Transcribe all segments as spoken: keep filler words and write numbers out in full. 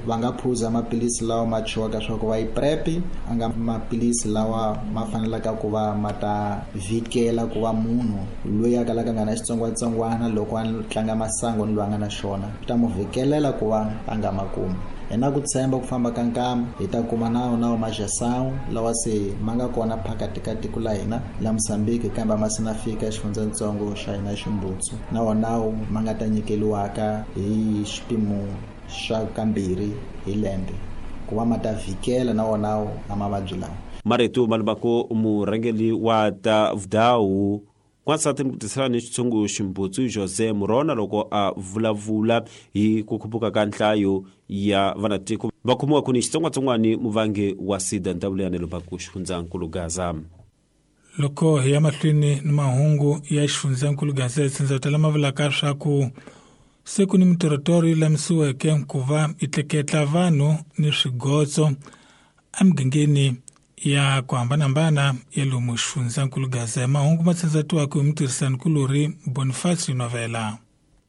Va nga phuza maphilisi lawa ma thyiwaka swa ku va yi PrEP, a nga maphilisi lawa ma fanelaka ku va ma ta vhikela ku va munhu loyi a kalaka a nga na xitsongwatsongwana loko a tlanga masangu ni loyi a nga na xona, swi ta mu vhikelela ku va a nga ma kumi. Hi na ku tshemba ku famba ka nkama hi ta kuma nawu nawu majasawu lawa se ma nga kona phakati ka tiko la hina la Mozambique, kambe a ma se na fika exifundzantsongo xa hina Ximbutsu. Na wona nawu ma nga ta nyikeliwaka hi xipimo xa kambirhi hi lembe ku va ma ta vhikela na wona nawu na mavabyi lawa. Marito malubako murhangeri wa ta vudhawu wansati ni ku tisela ni xitshungu Ximbutsu Jose Murona loko a vulavula hi ku khuphuka ka nhlayo ya vanatiko va khomiwaka ni xitsongwatsongwana muvangi wa SIDA ndhawu Lubako xifundzankulu Gaza. Loko hi ya mahlweni ni mahungu ya xifundzankulu Gaza, tsindzata lama vulaka swa ku se ku ni mitorotoro yi lamisiweke ku va yi tleketla vanhu ni swigotso emigangeni ya ku hambanahambana ya lomu xifundzankulu Gaza. Mahungu ma tsandzatiwaka hi mutirhisanikulori Boniface Novela.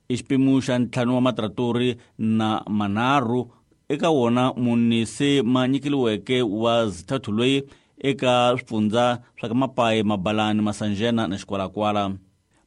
I xipimo xa ntlhanu wa matratori na manharhu eka wona mune se ma nyikeliweke wa zithathu loyi eka swifundza swa ka Mapayi, Mabalani, Masanjena na Xikwalakwala.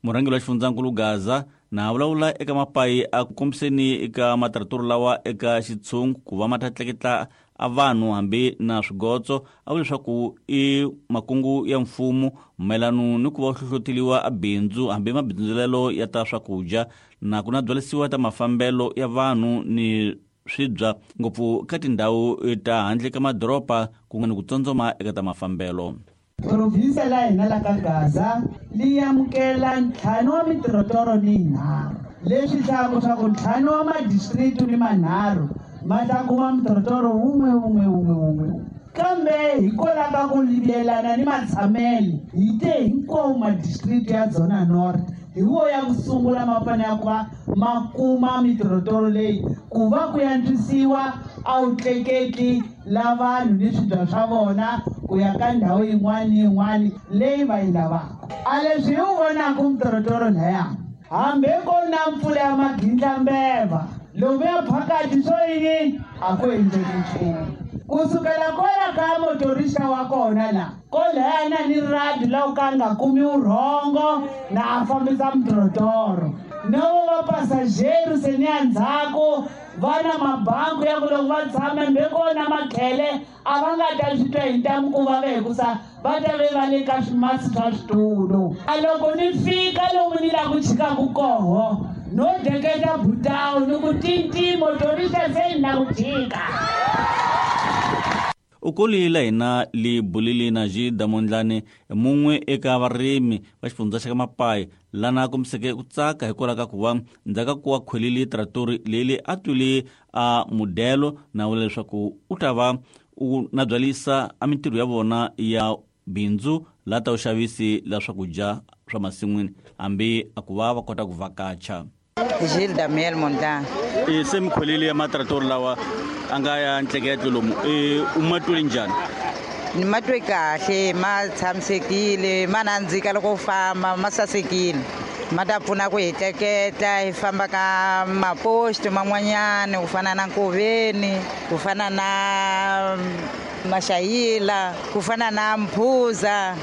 Murhangeri wa xifundzankulu Gaza na vulavula eka Mapayi a ku kombiseni eka matratori lawa eka xitshungu ku va ma ta tleketla a vanhu hambi na swigotso, a vula leswaku i makungu ya mfumo mayelana ni ku va hlohloteliwa a bindzu hambi mabindzulelo ya ta swakudya na ku na byalisiwa ta mafambelo ya vanhu ni swibya ngopfu ka tindhawu ta handle ka madoroba ku nga ni ku tsondzoma eka ta mafambelo. Provinsi la hina la ka Gaza li amukela ntlhanu wa mitirotoro ni yinharhu, leswi hlayaka swa ku ntlhanu wa madistrict ni manharhu ma ta kuma mitirotoro wun'we wun'we wun'we wun'we. Kambe hikwalaho ka ku yelana ni matshamelo hi te hinkwawo madistrict ya Dzona North hi wo ya ku sungula ma fanele ku va ma kuma mitirotoro leyi ku va ku antswisiwa a wu tleketli la vanhu ni swibya swa vona ku ya ka ndhawu yin'wana ni yin'wana leyi va yi lavaka. A leswi hi wu vonaka mitirotoro laya, hambi ko na mpfula ya magindlambeva lomu ya phakati swo yini a ku endleki nchumu. Kusukela kwala ka motorista wa kona la koleyana ni radi la ku ka nga kumi vurhongo na a fambisa mitirotoro, no va passageru se ni ya ndzhaku va na mabangu ya ku loko va tshama mbe kona makhele a va nga ta swi twa hi ntamu ku va ve hikusa va ta ve va le ka swimasi swa switulu. A loko ni fika lomu ni la ku chikaku koho no deketa butawu ni ku tinti motorista se ni la ku chika. U kolile hina li bulile na Jida Mondlane mun'we eka varimi va xifundza xa ka Mapayi lana a kombiseke ku tsaka hikwalaho ka ku va ndzhaku ka ku va khwelile tratori leyi a twile a modelo na vula leswaku u ta va u na byalisa a mintirho ya vona ya bindzu la ta vuxavisi la swakudya swa masin'wini hambi a ku va va kota ku vhakacha. Gilda Miel Mondlane. E se mikhwelile ya matratori lawa a nga ya ntleketlo lomu e u ma twile njhani? Ni ma twe kahle, ma tshamisekile, ma nandzika loko u famba, ma sasekile. Ma ta pfuna ku hi tleketla hi famba ka maposto man'wanyana ku fana na Nkoveni, ku fana na Maxayila, ku fana na Mphuza,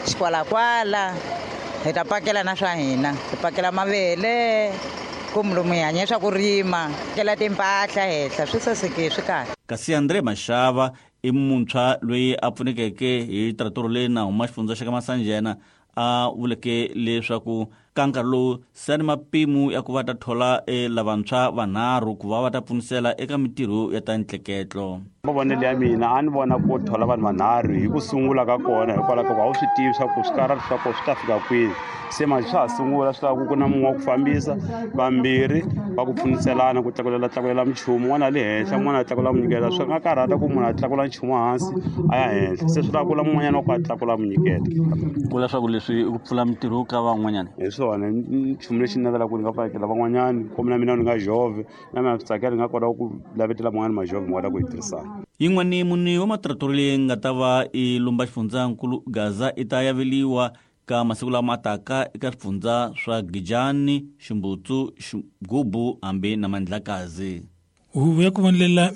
Xikwalakwala. Hi ta pakela na swa hina, hi pakela mavele kumbe lomu hi hanya swa ku rima, kela timpahla henhla, swi sasekile, swi kahle. Kasi Andre Mashava i muntshwa loyi a pfunekeke hi tratori leyi na huma xifundza xa ka Masanjena a vuleke leswaku ka nkarhi lowu se ni mapimo ya ku va ta thola e lavantshwa vanharhu ku va va ta pfunisela eka mintirho ya ta ntleketlo. Mavonelo ya mina a ni vona ku thola vanhu vanharhu hi ku sungula ka kona hikwalaho ka ku a wu swi tivi swa ku swikarhati swa kona swi ta fika kwini. Se manje swa ha sungula swi lava ku ku na mun'we wa ku fambisa, vambirhi va ku pfuniselana ku tlakulela tlakulela minchumu, un'wana a le henhla un'wana a tlakula munyikelo. Swi nga karhata ku munhu a tlakula nchumu hansi a ya henhla, se swi lava ku la mun'wanyana wa ku a tlakula munyikelo. Ku vula leswaku leswi i ku pfula mintirho ka van'wanyana? Hi swona nchumu lexi ni navelaka ku ni nga pfalekela van'wanyana, kumbe na mina ni nga jove na mina swi tsakela ni nga kota ku lavetela van'wanyana majove mi kota ku hi tirhisana. Yin'wani mune wa matratori leyi nga ta va i lumba xifundzankulu Gaza i ta yaveliwa ka masiku lama taka eka swifundza swa Gijani, Ximbutsu, Xigubu hambi na Mandlakazi. Huvo ya ku vonelela